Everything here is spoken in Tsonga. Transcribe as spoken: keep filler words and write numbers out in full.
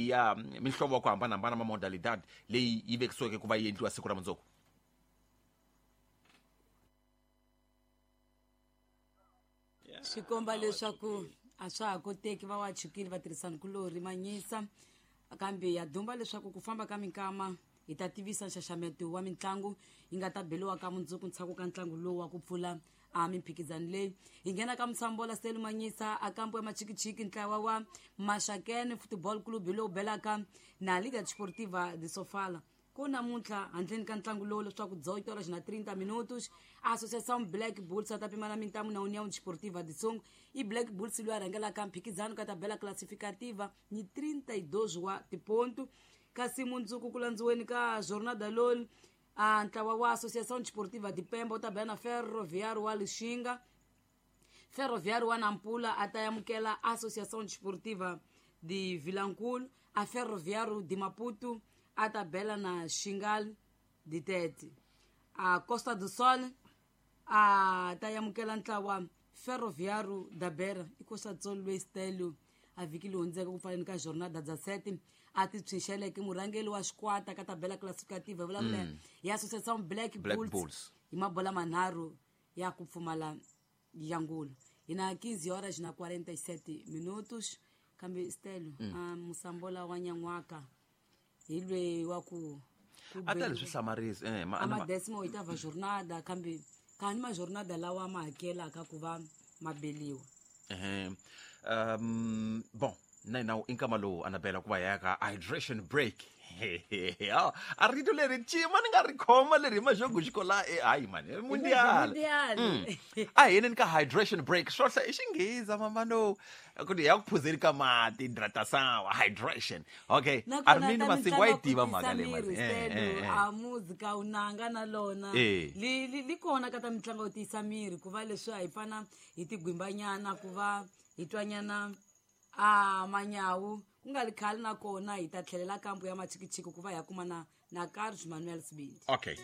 leyi ya mihlovo ya ku hambanahambana ma modalidad leyi yi vekisiweke ku va yi endliwa siku ra mundzuku. Swi komba leswaku a swa ha koteki va wa chukile vatirhisani kulorhi Manyisa, kambe ya dumba leswaku ku famba ka minkama hi ta tivisa nxaxameto wa mitlangu yi nga ta beliwa ka mundzuku ntshaku ka ntlangu lowu wa ku pfula a mimphikizano leyi. Hi nghena ka Musambola Stelu Manyisa a kampo ya Machikichiki, ntlawa wa Maxakene Football Club hi lowu belaka na Liga Desportiva de Sofala. Ku namuntlha handleni ka ntlangu lowu leswaku dezoito horas na trinta minutos Associação Black Bulls a ta pimana mintamu na União Desportiva de Songo. I Black Bulls loyi a rhangelaka mphikizano ka tabela classificativa ni trinta e dois wa tiponto. Kasi mundzuku ku landziweni ka jornada loyi a ntlawa wa Associação Desportiva de Pemba u ta bela na Ferroviário wa Lixinga. Ferroviário wa Nampula a ta amukela Associação Desportiva de Vilankulo. A Ferroviário de Maputo a ta bela na Xingal de Tete. A Costa do Sol a ta amukela ntlawa Ferroviário da Beira. I Costa do Sol loyi Stelio a vhiki leyi hundzeke ku pfaleni ka jornada dezessete a ti tshunxeleke murhangeri wa xikwata ka tabela classificativa vulavula ya Associação Black, Black Bulls, Bulls hi mabola manharhu ya ku pfumala ya ngulu. Hi na quinze horas na quarenta e sete minutos. Kambe Stelo mm. a Musambola wa nyan'waka hi lweyi wa ku a ta leswi hlamarisa eh ma a décima oitava jornada, kambe kani ma jornada lawa ma hakelaka ku va mabeliwa. Eh um bon na na inkama lowu Anabela ku va ya ka hydration break. A rito leri cima ni nga ri khoma leri maxogo xikola e hayi mani mundial a hi yeni ka hydration break swohla i xingheza mamano ku ya ku phuzeli ka mati hidratação hydration. Okay, Armindo Masingo wa yi tiva mhaka leyi mani a muzika u nanga na lona li li kona ka ta mitlangu yo tiyisa miri ku va leswi a hi fana hi tigwimbanyana ku va hi twanyana a manyawu ku nga ri khale na kona hi ta tlhelela kampo ya Machikichiki ku va hi ya kuma na na Carlos Manuel Sibindi. Okay.